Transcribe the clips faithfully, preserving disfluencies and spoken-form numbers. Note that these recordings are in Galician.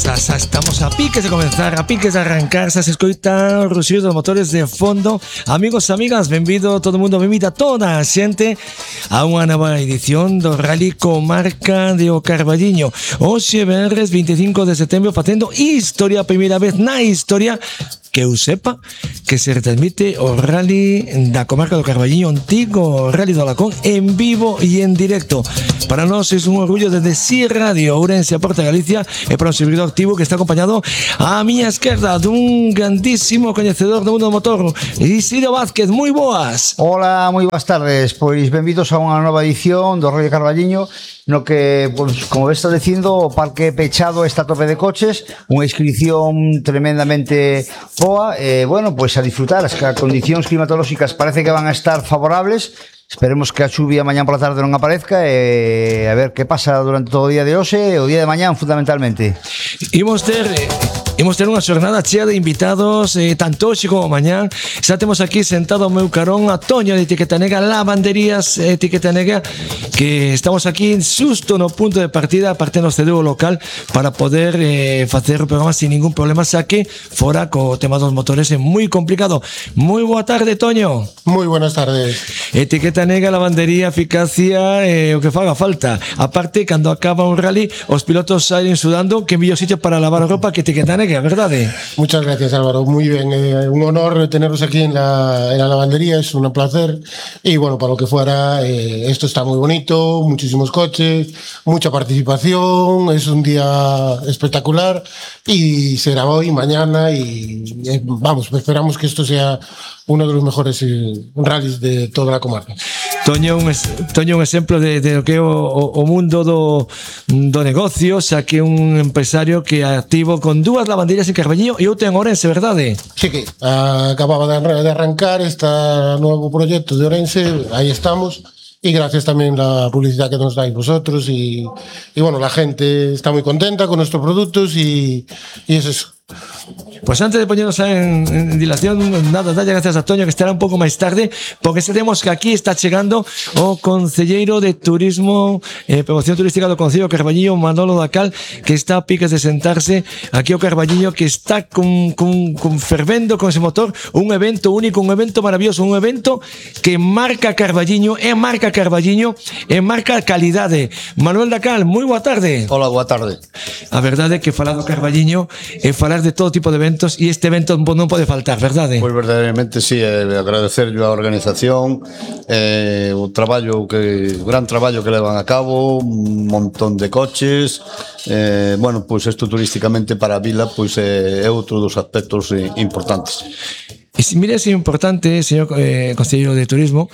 Xa estamos a piques de comenzar, a piques de arrancar, xa se escoita o ruxido dos motores de fondo. Amigos, amigas, benvido todo o mundo, benvida toda a xente a unha nova edición do Rally Comarca de O Carballiño. Hoxe, venres vinte e cinco de setembro, facendo historia, a primeira vez na historia que eu sepa que se retransmite o Rally da Comarca do Carballiño, antigo Rally do Alacón, en vivo e en directo. Para nós é un orgullo desde Si Radio Ourense a Porta Galicia e para un servidor activo que está acompañado á miña esquerda dun grandísimo coñecedor do mundo do motor, Isidro Vázquez. Moi boas. Hola, moi boas tardes. Pois benvidos a unha nova edición do Rally Carballiño, no que, pues, como está dicindo, o parque pechado está a tope de coches, unha inscripción tremendamente boa, e, bueno, pois a disfrutar. As condicións climatolóxicas parece que van a estar favorables. Esperemos que a chuvia mañán pola tarde non aparezca e a ver que pasa durante todo o día de hoxe e o día de mañán, fundamentalmente. Imos ter... Imos ter unha xornada chea de invitados, eh, tanto hoxe como mañán. Xa temos aquí sentado ao meu carón a Toño de Etiqueta Negra, Lavanderías Etiqueta Negra, que estamos aquí xusto no punto de partida, aparte nos cedeu o local para poder eh, facer o programa sin ningún problema, xa que fora co tema dos motores é moi complicado. Moi boa tarde, Toño. Moi buenas tardes. Etiqueta Negra, lavandería, eficacia, eh, o que faga falta. Aparte, cando acaba un rally, os pilotos salen sudando, que mellor sitio para lavar a roupa que Etiqueta Negra, ¿verdad? Muchas gracias, Álvaro, muy bien, eh, un honor teneros aquí en la, en la lavandería, es un placer y bueno, para lo que fuera, eh, esto está muy bonito, muchísimos coches, mucha participación, es un día espectacular y será hoy, mañana y eh, vamos, esperamos que esto sea uno de los mejores eh, rallies de toda la comarca. Toño, un, Toño, un exemplo de, de lo que é o, o mundo do, do negocio, xa que un empresario que é activo con dúas lavanderías en Carballiño e outra en Ourense, verdade? Sí, que uh, acababa de, de arrancar este nuevo proyecto de Ourense, aí estamos. Y gracias también a la publicidad que nos dais vosotros y, y bueno, la gente está muy contenta con nuestros productos y, y es eso. Pues antes de ponernos en, en dilación, nada, dalle gracias a Toño, que estará un pouco máis tarde, porque sabemos que aquí está chegando o concelleiro de Turismo e eh, Promoción Turística do Concello de Carballiño, Manolo Dacal, que está a piques de sentarse aquí ao Carballiño, que está con, con, con fervendo con ese motor, un evento único, un evento maravilloso, un evento que marca Carballiño, é marca Carballiño, é marca calidade. Manuel Dacal, moi boa tarde. Hola, boa tarde. A verdade é que falar do Carballiño é falar de todo tipo de eventos e este evento non pode faltar, verdade? Pois verdadeiramente sí, eh, agradecerlle a organización, eh, o traballo que, o gran traballo que levan a cabo, un montón de coches, eh, bueno, pois isto turísticamente para a vila pois é, é outro dos aspectos eh, importantes. E se mire, é importante, señor eh, conselleiro de Turismo,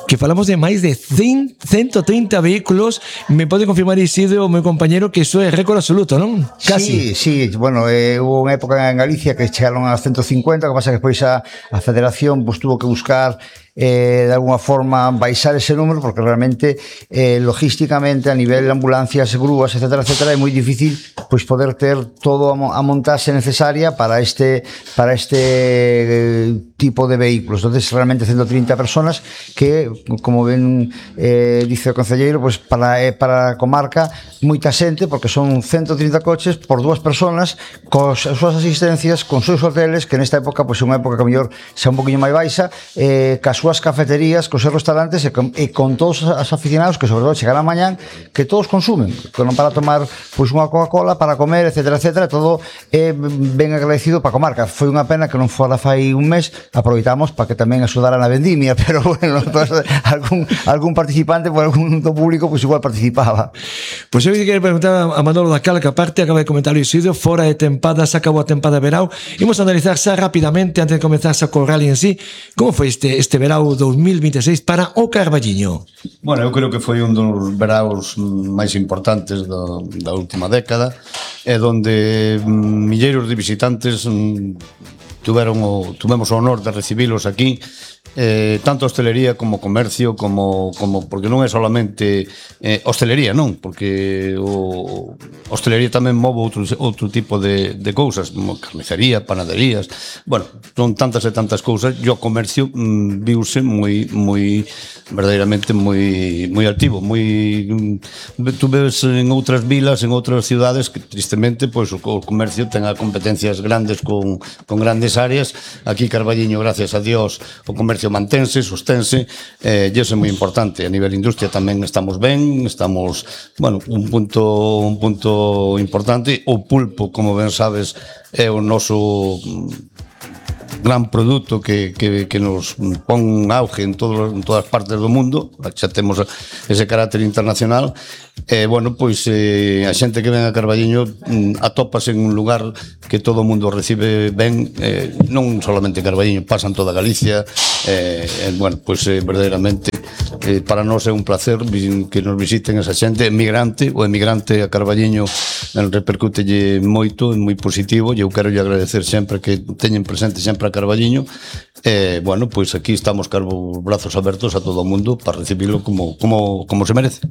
que falamos de máis de ciento treinta vehículos. Me pode confirmar, Isidro, o meu compañero, que iso é récord absoluto, non? Casi. Sí, sí, bueno, eh, hubo unha época en Galicia que chegaron a ciento cincuenta, que pasa que despois a, a Federación pues, tuvo que buscar eh, de alguna forma baixar ese número, porque realmente eh, logísticamente a nivel de ambulancias, grúas, etcétera, etcétera, é moi difícil pois poder ter todo a montaxe necesaria para este para este eh, tipo de vehículos. Entonces realmente ciento treinta personas que, como ben eh, dice o concelleiro, pois para eh, para a comarca moita xente, porque son ciento treinta coches por dúas personas, cos as súas asistencias, con seus hoteles, que nesta época pois é unha época que a mellor xa un poquinho máis baixa, eh, cas súas cafeterías, cos seus restaurantes e con, e con todos os aficionados que sobre todo chegarán mañán, que todos consumen, que non para tomar pois unha Coca-Cola, para comer, etcétera, etcétera, todo é ben agradecido para a comarca. Foi unha pena que non fora fai un mes, aproveitamos para que tamén axudara na vendimia, pero bueno, pues, algún, algún participante por algún do público pois igual participaba. Pois eu quero preguntar a Manolo Dacal, que aparte acaba de comentar o Isidro, fora de tempada, se acabou a tempada de verao. Imos analizar xa rapidamente, antes de comenzar xa co rally en sí, como foi este, este verao dos mil vinte e seis para o Carballiño. Bueno, eu creo que foi un dos veraos máis importantes do, da última década, e donde milleiros de visitantes tuveron o, tuvemos o honor de recibilos aquí eh, tanto hostelería como comercio, como, como porque non é solamente eh, hostelería, non, porque o hostelería tamén move outro, outro tipo de, de cousas, como carnicería, panaderías, bueno, son tantas e tantas cousas, e o comercio mm, viuse moi, moi, verdadeiramente moi, moi activo, moi, mm, tú ves en outras vilas, en outras ciudades, que tristemente, pois, o, o comercio ten a competencias grandes con, con grandes áreas, aquí Carballiño, gracias a Dios, o comercio mantense, sostense, eh, e iso é moi importante. A nivel industria tamén estamos ben, estamos, bueno, un punto un punto importante. O pulpo, como ben sabes, é o noso gran produto que, que, que nos pon auge en, todo, en todas partes do mundo, xa temos ese carácter internacional. E, eh, bueno, pois eh, a xente que ven a Carballiño mm, atópase en un lugar que todo o mundo recibe ben, eh, non solamente Carballiño, pasan toda Galicia, eh, eh, bueno, pois eh, verdadeiramente eh, para nós é un placer que nos visiten esa xente emigrante, o emigrante a Carballiño repercútelle moito, é moi positivo, e eu quero lle agradecer sempre que teñen presente sempre a Carballiño. Eh, bueno, pois aquí estamos carbo brazos abertos a todo o mundo para recibilo como, como, como se merece.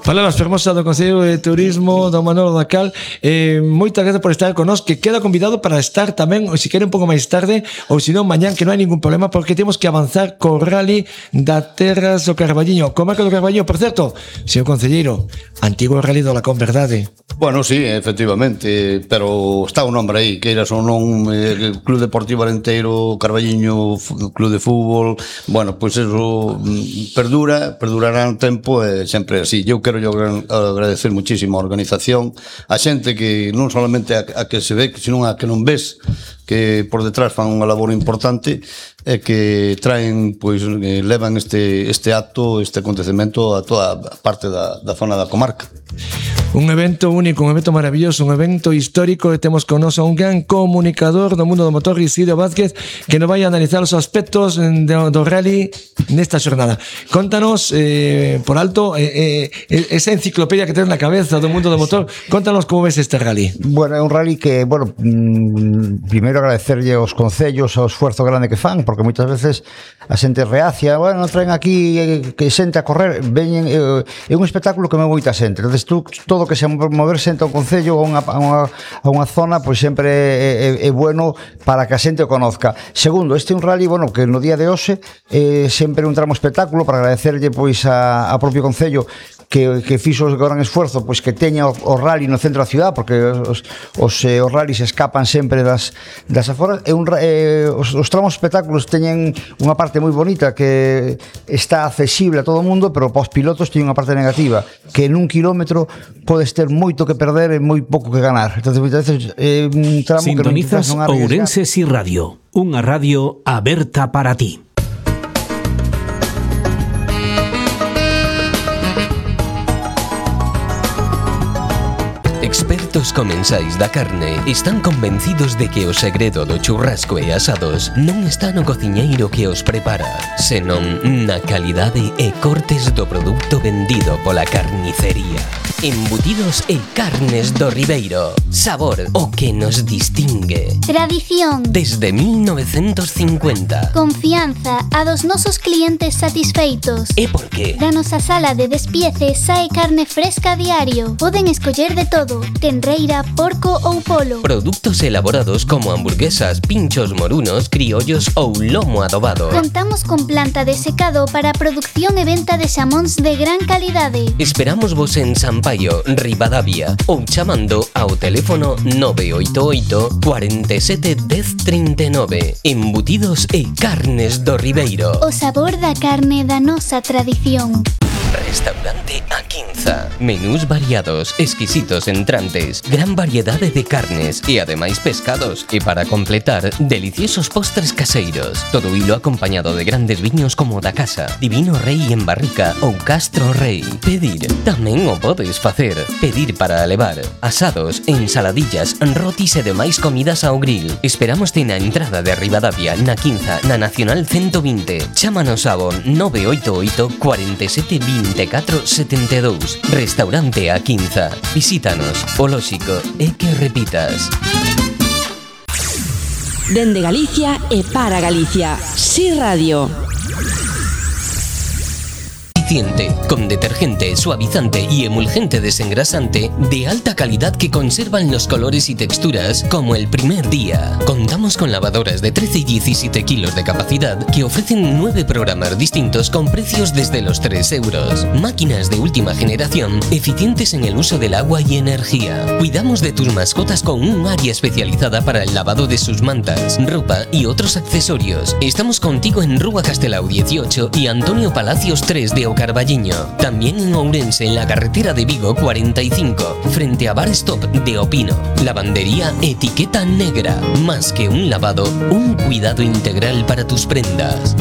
Palabras fermosas do Concello de Turismo do Manolo Dacal. eh, Moitas gracias por estar con nós, que queda convidado para estar tamén, ou se quere un pouco máis tarde, ou se non mañán, que non hai ningún problema, porque temos que avanzar co rally da Terras do Carballiño, comarca do Carballiño. Por certo, señor concelleiro, antigo rally do Lacón, verdade? Bueno, sí, efectivamente, pero está o nombre aí, que eras ou non, eh, Club Deportivo Arenteiro Carballiño, Club de Fútbol, bueno, pois pues eso perdura, perdurará un tempo e sempre así. Eu quero yo agradecer muchísimo a organización, a xente que non solamente a, a que se ve, sino a que non ves, que por detrás fan unha labor importante e que traen, pois, eh, levan este, este acto, este acontecemento a toda a parte da, da zona da comarca. Un evento único, un evento maravilloso, un evento histórico, e temos con nos a un gran comunicador do mundo do motor, Isidro Vázquez, que nos vai a analizar os aspectos do, do rally nesta xornada. Contanos, eh, por alto, eh, eh, esa enciclopedia que tens na cabeza do mundo do motor, contanos como ves este rally. Bueno, é un rally que, bueno, mmm, primeiro agradecerlle aos concellos ao esforzo grande que fan, porque moitas veces a xente reacia, bueno, traen aquí eh, que xente a correr, veñen, eh, é un espectáculo que me moita xente. Entonces, tú, todo que se mover xente ao concello ou a unha, a unha, a unha zona, pois sempre é, é, é bueno para que a xente o conozca. Segundo, este é un rally, bueno, que no día de hoxe é sempre un tramo espectáculo, para agradecerlle pois a, a propio concello que, que fixo o gran esforzo, pois que teña o, o rally no centro da ciudad, porque os, os, eh, os rallies escapan sempre das, das aforas. É un, eh, os, os tramos espectáculos teñen unha parte moi bonita que está accesible a todo o mundo, pero para os pilotos teñen unha parte negativa, que en un kilómetro podes ter moito que perder e moi pouco que ganar. Entonces, moitas veces é un tramo Sintonizas que non Ourense Si Radio, unha radio aberta para ti. Expertos comensais da carne están convencidos de que o segredo do churrasco e asados non está no cociñeiro que os prepara, senón na calidade e cortes do produto vendido pola carnicería. Embutidos e carnes do Ribeiro. Sabor, o que nos distingue. Tradición. Desde mil novecientos cincuenta. Confianza a dos nosos clientes satisfeitos. E por qué? Da nosa sala de despiece sae carne fresca a diario. Poden escoller de todo: tenreira, porco ou polo. Produtos elaborados como hamburguesas, pinchos morunos, criollos ou lomo adobado. Contamos con planta de secado para a producción e venta de xamóns de gran calidade. Esperamos vos en Sampaio, Ribadavia, ou chamando ao teléfono nove oito oito, cuarenta e sete, dez, trinta e nove. Embutidos e carnes do Ribeiro. O sabor da carne da nosa tradición. Restaurante A Quinza. Menús variados, exquisitos entrantes, gran variedade de carnes e ademais pescados. E para completar, deliciosos postres caseiros. Todo hilo acompañado de grandes viños como da casa, Divino Rei en barrica ou Castro Rei. Pedir, tamén o podes facer. Pedir para levar asados, ensaladillas, rotis e demais comidas ao grill. Esperámoste na entrada de Ribadavia, na Quinza, na Nacional ciento vinte. Chámanos ao nove oito oito, cuarenta e sete, vinte e catro, setenta e dous. Restaurante A Quinza. Visítanos. O lóxico é que repitas. Dende Galicia e para Galicia. Si Radio. eficiente, con detergente, suavizante y emulgente desengrasante de alta calidad que conservan los colores y texturas como el primer día. Contamos con lavadoras de trece y diecisiete kilos de capacidad que ofrecen nueve programas distintos con precios desde los tres euros. Máquinas de última generación, eficientes en el uso del agua y energía. Cuidamos de tus mascotas con un área especializada para el lavado de sus mantas, ropa y otros accesorios. Estamos contigo en Rúa Castelao dieciocho y Antonio Palacios tres de Ocarballiño. También en Ourense, en la carretera de Vigo cuarenta y cinco, frente a Bar Stop de Opino. Lavandería Etiqueta Negra. Más que un lavado, un cuidado integral para tus prendas.